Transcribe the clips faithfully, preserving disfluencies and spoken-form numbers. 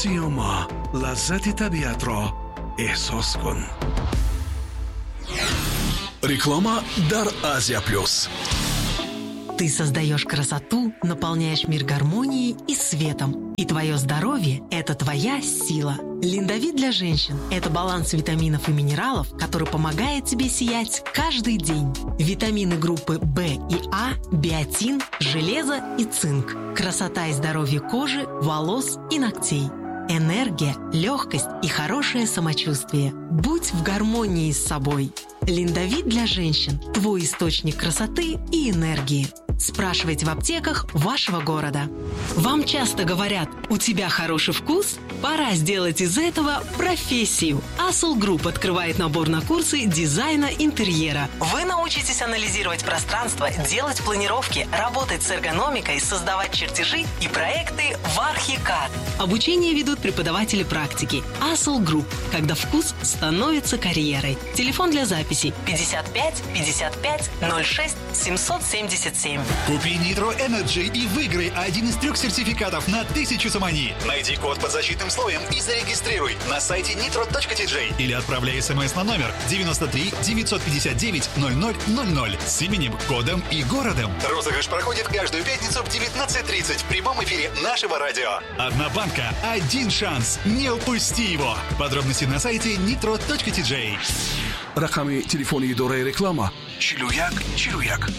Сиёма, лаззати табиатро эҳсос кун. Реклама дар Азия Плюс. Ты создаешь красоту, наполняешь мир гармонией и светом. И твое здоровье – это твоя сила. Линдовит для женщин – это баланс витаминов и минералов, который помогает тебе сиять каждый день. Витамины группы В и А, биотин, железо и цинк. Красота и здоровье кожи, волос и ногтей. Энергия, легкость и хорошее самочувствие. Будь в гармонии с собой. Линдовит для женщин – твой источник красоты и энергии. Спрашивайте в аптеках вашего города. Вам часто говорят: у тебя хороший вкус? Пора сделать из этого профессию. Асул Групп открывает набор на курсы дизайна интерьера. Вы научитесь анализировать пространство, делать планировки, работать с эргономикой, создавать чертежи и проекты в Архикад. Обучение ведут преподаватели практики. Асул Групп. Когда вкус становится карьерой. Телефон для записи пятьдесят пять пятьдесят пять ноль шесть семьсот семьдесят семь. Купи Nitro Energy и выиграй один из трех сертификатов на тысячу сомони. Найди код под защитным слоем и зарегистрируй на сайте nitro точка T J или отправляй смс на номер девяносто три девятьсот пятьдесят девять ноль ноль ноль ноль с именем, кодом и городом. Розыгрыш проходит каждую пятницу в девятнадцать тридцать в прямом эфире нашего радио. Одна банка, один шанс. Не упусти его. Подробности на сайте nitro точка T J. Рақами телефони идораи реклама чилу як чилу як.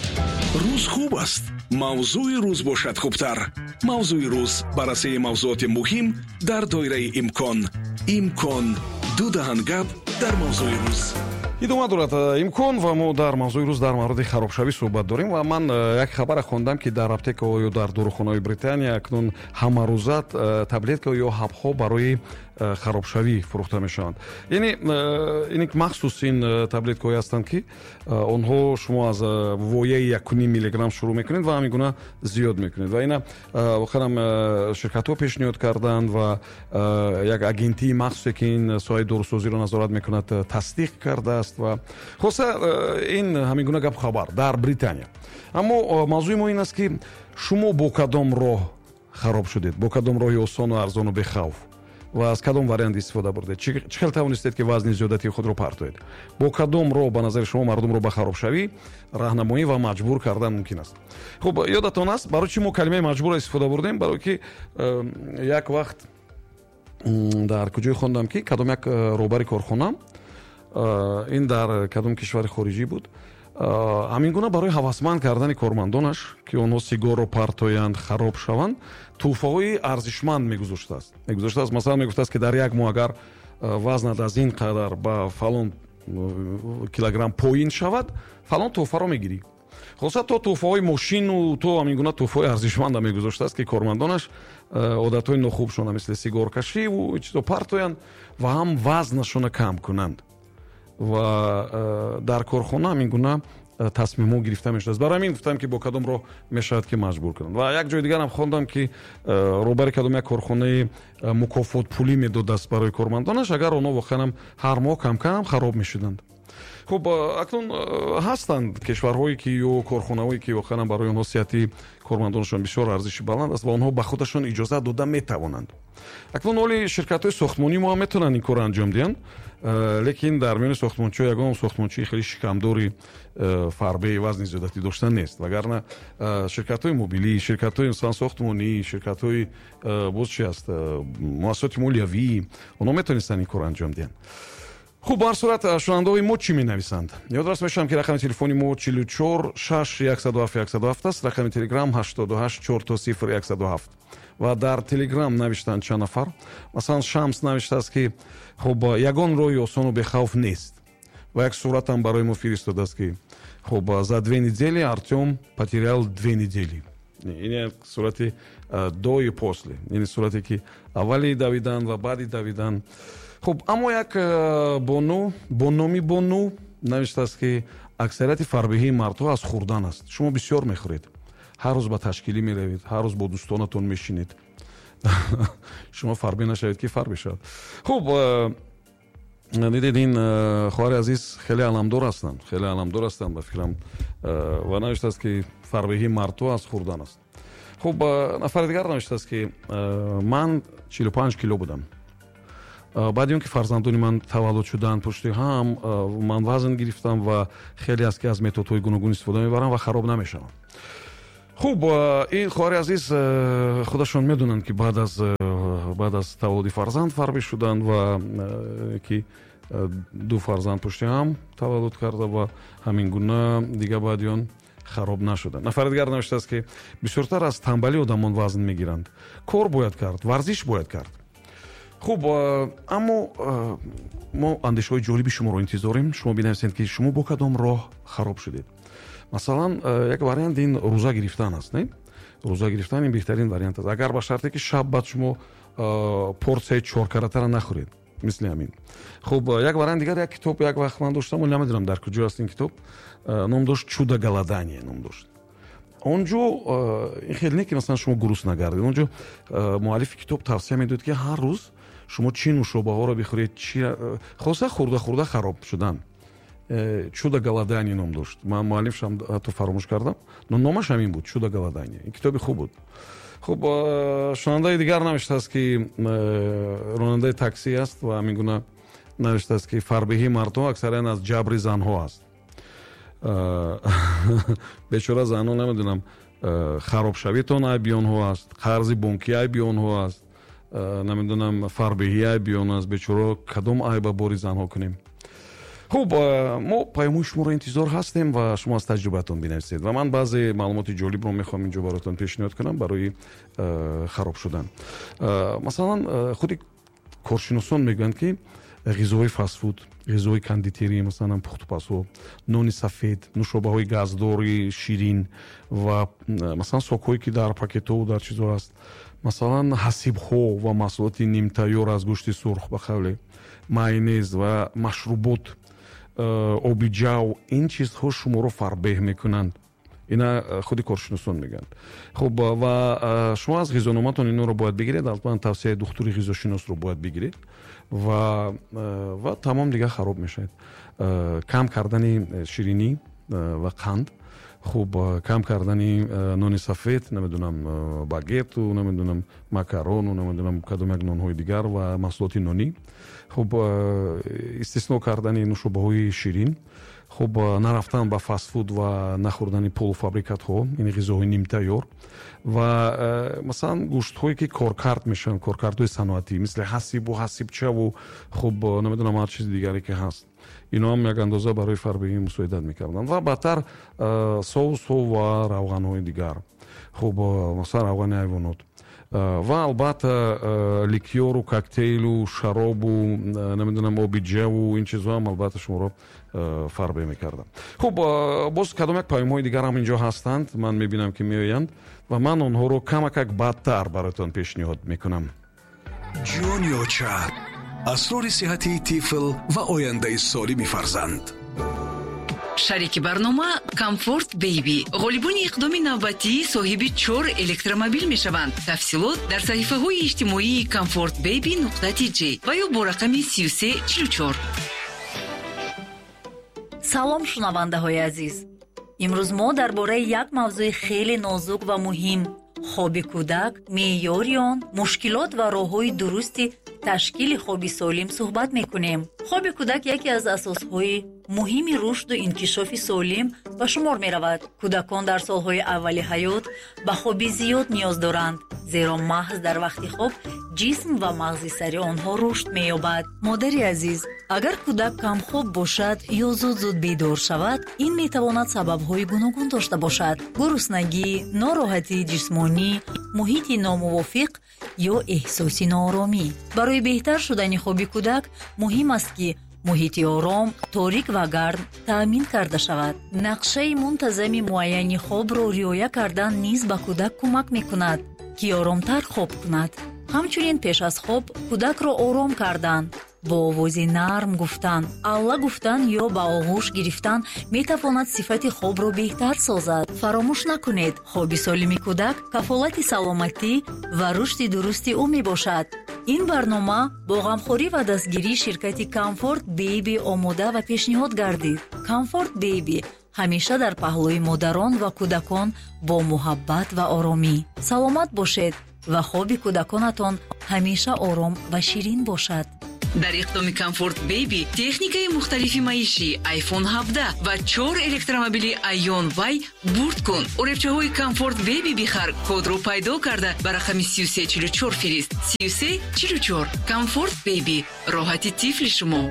Рӯз хуб аст, мавзӯи рӯз бошад хубтар. Мавзӯи рӯз: баррасии мавзӯоти муҳим дар доираи имкон. Имкон: ду даҳан гап дар мавзӯи рӯз. Идома дорад э, имкон ва мо дар мавзӯи рӯз дар мавриди харобшавӣ суҳбат дорем. Ва ман э, як хабара хондам, ки дар аптекаҳо ё дар дорухонаҳои Британия акнун ҳамарӯза э, таблетка ё ҳабҳо барои харобшавӣ фурӯхта мешаванд. Яъне ин махсус ин таблеткаҳое ҳастанд, ки онҳо шумо аз вояи якуним миллиграмм шурӯъ мекунед ва ҳамин гуна зиёд мекунед. Ва ина воқеан ширкатҳо пешниҳод карданд ва як агентии махсусе, ки ин соҳаи дорусозиро назорат мекунад, тасдиқ кардааст. Ва хулоса, ин ҳамин гуна гапу хабар дар Британия. Аммо мавзӯи мо ин аст, ки шумо бо кадом роҳ хароб шудед, бо кадом роҳи осону арзону бехавф ва аз кадом вариант истифода бурдед, чӣ хел тавонистед, ки вазни зиёдатии худро партоед, бо кадом роҳ ба назари шумо мардумро ба харобшавӣ раҳнамоӣ ва маҷбур кардан мумкин аст. Хуб, ёдатон аст, барои чӣ мо калимаи маҷбурро истифода бурдем? Барое ки як вақт дар куҷое хондам, ки кадом як э, роҳбари корхона, э, ин дар кадом кишвари хориҷӣ буд, ҳамин гуна барои ҳавасманд кардани кормандонаш, ки онҳо сигорро партоянд, хароб шаванд, тӯҳфаҳои арзишманд мегузоштааст мегузоштааст Масалан, мегуфтааст, ки дар як моҳ агар вазнат аз ин қадар ба фалон килограмм поин шавад, фалон тӯҳфаро мегирӣ. Хулоса, то тӯҳфаҳои мошину то ҳамин гуна тӯҳфаҳои арзишманда мегузоштааст, ки кормандонаш одатҳои нохубшона, мисли сигоркашиву чизо, партоянд ва ҳам вазнашона кам кунанд. Ва э, дар корхона ҳамин гуна э, тасмимҳо гирифта мешудааст. Барои ҳамин гуфтам, ки бо кадом роҳ мешавад, ки маҷбур кунанд. Ва як ҷои дигарам хондам, ки э, роҳбари кадом як корхонаи мукофотпулӣ медодааст барои кормандонаш, агар онҳо воқеанам ҳар моҳ камкам хароб мешуданд. Хуб, акнун ҳастанд кишварҳое, ки ё корхонаҳое, ки воқеан барои онҳо сиҳати кормандонашон бисёр арзиши баланд аст ва онҳо ба худашон иҷозат дода метавонанд. Акнун ҳоли ширкатҳои сохтмонӣ мо ҳам метавонанд ин корро анҷом диҳанд, э, лекин дар миёни сохтмончиҳо ягон сохтмончии хеле шикамдори, э, фарбеи, вазни зиёдатӣ дошта нест. Вагарна э, ширкатҳои мобилӣ, ширкатҳои, масалан, сохтмонӣ, ширкатҳои, боз чи аст, муассисоти молиявӣ, онҳо метавонистанд ин корро анҷом диҳанд. Хуб, ба ҳар сурат, шунавандаҳои мо чӣ менависанд? Ёдрас мешавам, ки рақами телефони мо чилу чор шаш яксаду ҳафт яксаду ҳафт аст, рақами телеграм ҳаштоду ҳашт чор то сифр яксаду ҳафт. Ва дар телеграм навиштанд чанд нафар. Масалан, Шамс навиштааст, ки хуб, ягон роҳи осону бехавф нест. Ва як суратам барои мо фиристодааст, ки хуб, за две недели Артем потерял две недели. Ин як сурати до и после, ин сурате, ки аввали давидан ва баъди давидан. Хуб, аммо як бону бо номи Бону навиштааст, ки аксарияти фарбеҳии мардҳо аз хӯрдан аст. Шумо бисёр мехӯред, ҳар рӯз ба ташкилӣ меравед, ҳар рӯз бо дӯстонатон мешинед. Шумо фарбе нашавед, ки фарбе шавад? Хуб, дидед, ин хоҳари азиз хеле аламдор ҳастанд, хеле аламдор ҳастанд, ба фикрам. Ва навиштааст, ки фарбеҳии мардҳо аз хӯрдан аст. Хуб, нафари дигар навиштааст, ки ман чилу панҷ кило будам. Баъди он ки фарзандони ман таваллуд шуданд, пушти ҳам ман вазн гирифтам ва хеле аст, ки аз методҳои гуногун истифода мебарам ва хароб намешавам. Хуб, ин хоҳари азиз худашон медонанд, ки баъд аз баъд аз таваллуди фарзанд фарбӣ шуданд ва ки ду фарзанд пушти ҳам таваллуд карда ва ҳамин гуна дига баъди он хароб нашуданд. Нафари дигар навиштааст, ки бисёртар аз танбалӣ одамон вазн мегиранд. Кор бояд кард, варзиш бояд кард. Хуб, аммо мо андешаҳои ҷолиби шуморо интизорем. Шумо бинависед, ки шумо бо кадом роҳ хароб шудед. Масалан, як вариант ин рӯза гирифтан аст, не? Рӯза гирифтан ин беҳтарин вариант аст. Агар ба шарте ки шаб баъд шумо порсияи чоркаратаро нахӯред, мисли ҳамин. Хуб, як вариант дигар, як китоб як вақт ман доштам, вале намедонам дар куҷо аст ин китоб, ном дошт «Чудо голодание» ном дошт. Он ҷо ин хеле не, ки масалан шумо гурусна гардед. Он ҷо муаллифи китоб тавсия медод, ки ҳар рӯз шумо чӣ нӯшобаҳоро бихӯред, чи хоса хӯрда хӯрда хароб шудан. «Чудо голодание» ном дошт. Ман муаллифшам ҳатто фаромӯш кардам, но номаш ҳамин буд, «Чудо голодание». Ин китоби хуб буд. Хуб, шунавандаи дигар навиштааст, ки ронандаи таксӣ аст ва ҳамин гуна навиштааст, ки фарбеҳии мардҳо аксаран аз ҷабри занҳо аст. Бечора занҳо, намедонам, харобшавитон айби онҳо аст, қарзи бонкӣ айби онҳо аст, намедонам, фарбеҳӣ айби он аст. Бечора, кадом айба бори занҳо кунем? Хуб, мо паёмҳои шуморо интизор ҳастем ва шумо аз таҷрибаатон бинависед. Ва ман баъзе маълумоти ҷолибро мехоҳам инҷо бароятон пешниҳод кунам барои хароб шудан. Масалан, худи коршиносон мегӯянд, ки ғизоҳои фастфуд, ғизоҳои кондитерӣ, масалан пухтупазҳо, нони сафед, нӯшобаҳои газдори ширин ва масалан сокҳое, ки дар пакетҳо дар чизҳо аст, масалан ҳасибҳо ва маҳсулоти нимтайёр аз гӯшти сурх, ба қавле майонез ва машрубот, оби ҷав, ин чизҳо шуморо фарбеҳ мекунанд. Ина худи коршиносон мегӯянд. Хуб, ва шумо аз ғизономатон инҳоро бояд бигиред, албатта тавсияи духтури ғизошиносро бояд бигиред ва ва тамом дига хароб мешавед. Кам кардани ширинӣ ва қанд, хуб, кам кардани нони сафед, намедонам, багету, намедонам, макарону, намедонам, кадом як нонҳои дигар ва маҳсулоти нонӣ. Хуб, истисно кардани нӯшобаҳои ширин, хуб, нарафтан ба фастфуд ва нахӯрдани полуфабрикатҳо, ин ғизоҳои нимтайёр ва масалан гӯштҳое, ки коркард мешаванд, коркардҳои саноатӣ, мисли ҳасибу ҳасибчаву, хуб, намедонам, ҳар чизи дигаре ки ҳаст. Ино ҳам як андоза барои фарбеҳӣ мусоидат мекарданд. Ва баъдтар соусҳо ва равғанҳои дигар. Хуб, масалан равғани ҳайвонот. Ва албатта ликёру, коктейлу, шаробу, намедонам, оби ҷаву, ин чизҳо ҳам албатта шуморо фарбеҳ мекарданд. Хуб, боз кадом як паёмҳои дигар ҳам инҷо ҳастанд, ман мебинам, ки меоянд ва ман онҳоро камакак баъдтар бароятон пешниҳод мекунам. Ҷони оча, асрори сиҳатии тифл ва ояндаи солими фарзанд. Шарики барнома «Комфорт Бейби». Ғолибони иқдоми навбатӣ соҳиби чор электромобил мешаванд. Тафсилот дар саҳифаҳои иҷтимоии Комфорт Бейби нуқта тж ва ё бо рақами сию се чилу чор. Салом, шунавандаҳои азиз. Имрӯз мо дар бораи як мавзӯи хеле нозук ва муҳим: хоби кӯдак, меъёри он, мушкилот ва роҳҳои дурусти ташкили хоби солим суҳбат мекунем. Хоби кӯдак яке аз асосҳои муҳими рушду инкишофи солим ба шумор меравад. Кӯдакон дар солҳои аввали ҳаёт ба хоби зиёд ниёз доранд, зеро маҳз дар вақти хоб ҷисм ва мағзи сари онҳо рушд меёбад. Модари азиз, агар кӯдак камхоб бошад ё зуд-зуд бедор шавад, ин метавонад сабабҳои гуногун дошта бошад: гуруснагӣ, нороҳатии ҷисмонӣ, муҳити номувофиқ ё эҳсоси нооромӣ. Барои беҳтар шудани хоби кӯдак муҳим аст, ки муҳити ором, торик ва гарм таъмин карда шавад. Нақшаи мунтазами муайяни хобро риоя кардан низ ба кӯдак кӯмак мекунад, ки оромтар хоб кунад. Ҳамчунин пеш аз хоб кӯдакро ором кардан, бо овози нарм гуфтан, алла гуфтан ё ба оғӯш гирифтан метавонад сифати хобро беҳтар созад. Фаромӯш накунед, хоби солими кӯдак кафолати саломатӣ ва рушди дурусти ӯ мебошад. Ин барнома бо ғамхорӣ ва дастгирии ширкати Комфорт Бейби омода ва пешниҳод гардид. Комфорт Бейби Ҳамеша дар паҳлӯи модарон ва кӯдакон бо муҳаббат ва оромӣ. Саломат бошед ва хоби кӯдаконатон ҳамеша ором ва ширин бошад. Дар иқдоми Комфорт Бэби техникаи мухталифи маишӣ, iPhone ҳабдаҳ ва чор электромобили Aion Y бурд кун. Оребчаҳои Комфорт Бэби бихар, кодро пайдо карда ба рақами сию се чилу чор фирист. Сию се чилу чор. Комфорт Бэби, роҳати тифли шумо.